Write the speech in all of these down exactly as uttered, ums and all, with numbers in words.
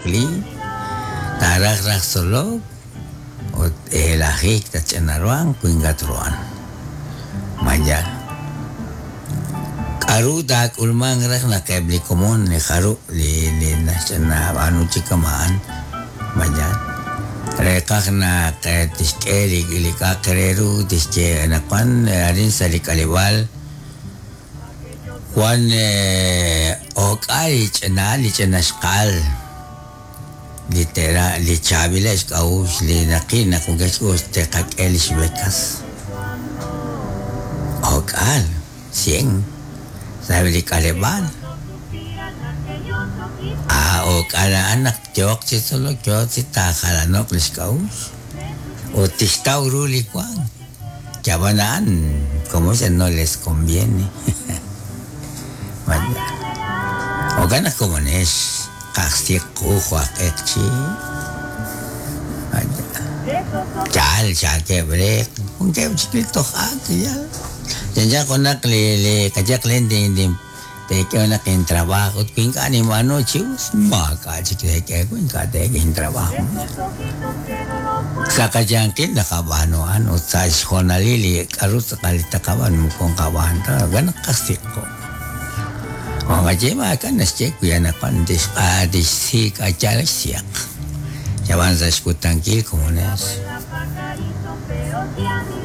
wakli taaraj raj tzolok ut elajik tach'anaruan kuingatruan maya k'aru taak'ulman raj naq eb' li komon li jarub' li li naxch'ana b'aanu chi kama'an maya reqaj naq tixk'e li li k'a'aq re ru tixye anaqwan arin sa' li k'aleb'aal Juan ok'al li ch'ina li ch'ina xqal li tera li chaab'il xk'a'uxl li naqil naq wankeb' teqak'e lix becas ok'al cien sabe li k'aleb'aal ah ok'al a'an naq yooq chi tzolok yooq chi taajalano'q li xk'a'uxl ut tixtaw ru li wank yab'an a'an como se no les conviene. Jo'kan naq komonex qajsiq qu jo'aq'eqchi yaal xaakeb' re wankeb' chik li toj ak yaal chanchan junaq li li qayaq len din din teek'e junaq intrabajo ut wi ink'a' ninb'aanu chi us maak'a' chik teek'e wi ink'a' teek'e intrabajo sa' qayanqil naqab'aanu a'an ut sa' xjoonalil li k'aru tz'aqal li taqab'aan moko nqab'aan ta jo'kan naq qajsiq qu Oqaye maak'a' naxye wi anaqwan tixq'a tixsik' yal xsiaq yab'an sa' xkutankil komonex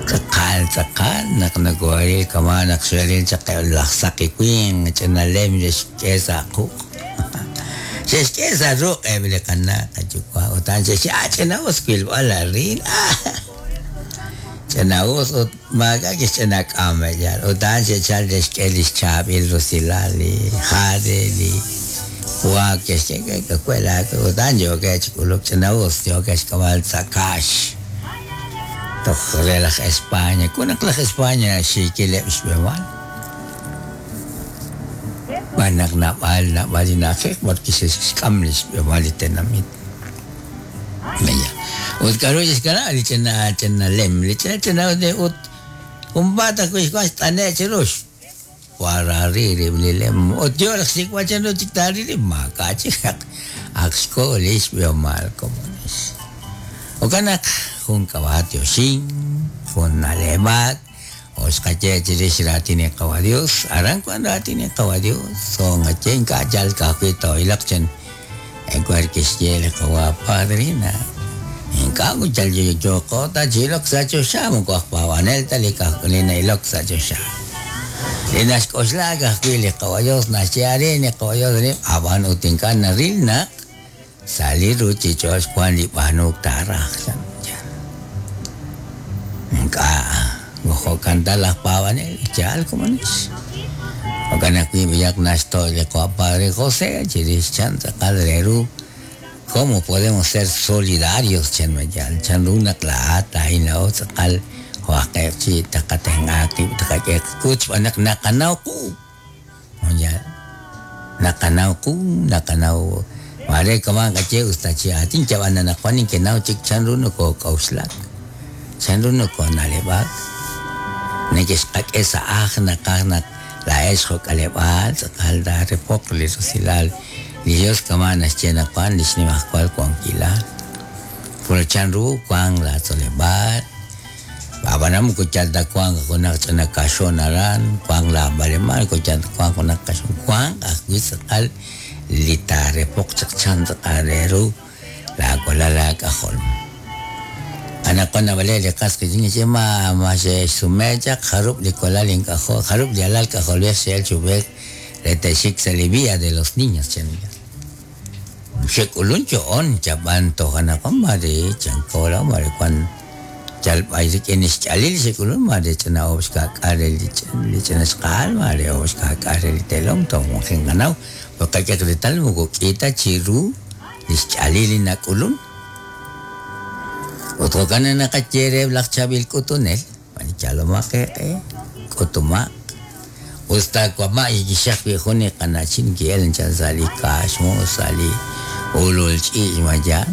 tz'aqal tz'aqal naq nakooril kama' naq xe'ril chaq laj saqi winq ch'inalem xe'xk'e sa' quq' xe'xk'e sa' ruq' eb' li qana' qayuwa' ut a'an xe'xye ah ch'ina'us wilb'al arin ah ch'ina'us ut maak'a' kixch'ina k'am yal ut a'an xe'chal xe'xk'e li xchaab'il rusilal li jade li puak xe'xk'e k'akuela ut a'an yookeb' chi k'uluk ch'ina'us yookeb' xk'ab'al sa' kaax toj re laj España kunaq laj España xiikileb' xb'emal b'an naq nab'al nab'al li na'ajej porque xe'xk'am li xb'emal li tenamit maya ut k'aru xe'xkanab' li ch'ina ch'inalem li ch'ina ch'ina ut junpaat ajwi' xwan xt'ane' chi rux warari rib' li lem ut yoo raj xsik'b'al chanru chik taaril rib' maak'a' chik ak ak xko' li xb'ihomal komonex jo'kan naq jun k'ab'a't yoxin jun na'leb'ak o xqaye chirix raatin li Qawa Dios aran wan raatin li Qawa Dios so nqaye ink'a' yal ka'ajwi' too'ilaq chan enkuar kixye li Qawa Padre na ink'a' yal yooqo ta chilok sa' choxa moko aj paab'anel ta li kaj li na'ilok sa' choxa li naxk'oxla ka'ajwi' li Qawa Dios naxye arin li Qawa Dios arin ab'an ut ink'a' naril naq sa' li ruchich'och' wan li b'aanuk taaraj chan ink'a' jo'kan ta laj paab'anel yaal komonex jo'kan ajwi' b'ayaq naxto' li Qawa Padre José chirix chan tz'aqal re ru cómo podemos ser solidarios chan mayal chan ru naq laa'at laa'in laa'o tz'aqal jo'aqeb' chi taqatenq'a qib' taqak'e qak'ut xb'aan naq naqanaw qu yaal naqanaw qu naqanaw mare kama' qaye us ta chi aatin yab'an anaqwan ninkenaw chik chan ru nokok'a'uxlak chan ru nokona'leb'ak neke'xqak'e sa' aj naqaj naq laa'ex jo'k'aleb'aal tz'aqal taarepoq li rusilal li Dios kama' naxye naqwan li xnimajwal wankilal puro chan ru wan laatzoleb'aal ab'anan moko yal ta wank junaq ch'ina kaxon aran wank laab'alemaal moko yal ta wank junaq kaxon wank ajwi' tz'aqal li taarepoq chaq chan tz'aqal re ru laawalal laak'ajol anaqwan nab'alej li qas qiitz'in xye ma ma xe'xsume chaq jarub' li walal ink'ajol jarub' li alal k'ajolb'ej xe'el chub'ej re te'xik sa' li Villa de los Niños chan xe'k'ulun cho'on chab'an toj anaqwan mare chankola mare wan yal b'ay rik'in xch'alil xe'k'ulun mare ch'ina oob' xka'k'aal re li li ch'ina xq'aal mare oob' xka'k'aal re li telom toj wanjin qanaw porque qak'e reetal moko k'i ta chi ru li xch'alil li nak'ulun ut jo'kan naqaye reheb' laj chaab'il k'utunel yalomaq eeq'e k'utumaq usta wama' kixaq wi' jun li qana'chin ki'el chan sa' li kaaxmu sa' li ulul ch'iich' mayal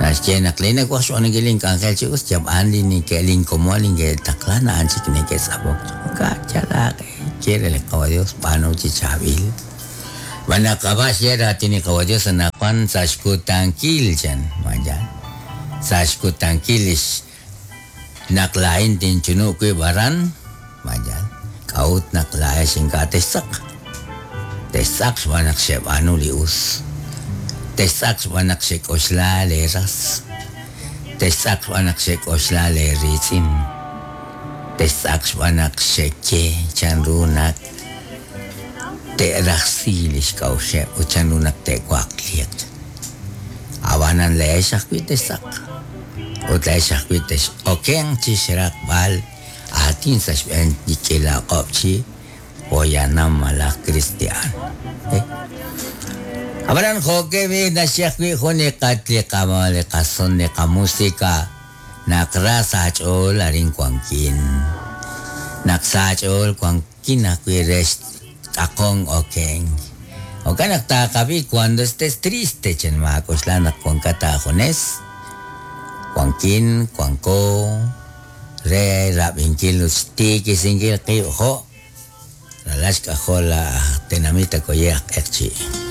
naxye naq li nawaj xb'aanunkil link'anjel chi us yab'an li nike' linkomon linke'taqlan a'an chik neke'tz'apok ka' yalaq ye re li Qawa Dios b'aanu chi chaab'il b'an naq ab'a xye raatin li Qawa Dios anaqwan anaqwan sa' xkutankil chan mayan sa' xkutankil lix naq laa'in tinchunub' wib' aran mayan k'a'ut naq laa'ex ink'a' textz'aq textz'aq xb'aan naq xeb'aanu li us textz'aq xb'aan naq xek'oxla leeras textz'aq xb'aan naq xek'oxla leeriitz'in textz'aq xb'aan naq xeye chanru naq te'rajsi lix k'a'uxeb' ut chanru naq te'waqliiq ab'anan le'ex ajwi' textz'aq ut le'ex ajwi' tex'okenq chi xraqb'al aatin sa' xb'een li k'iila qob' chi poyanam malaj cristian. Eh? Ab'anan jo'ke b'i naxye ajwi' jun li qat li qama li qason li qamusika naq ra sa' ch'ool arin wankin naq sa' ch'ool wankin ajwi' re xtz'aqon okenk jo'kan naq taqab'i cuando estés triste chen maak'oxla naq wankat aajunes wankin wanko re rab'inkil ut xtiikisinkil qib' jo' ralal xk'ajol aj tenamit akoye aj Q'eqchi'.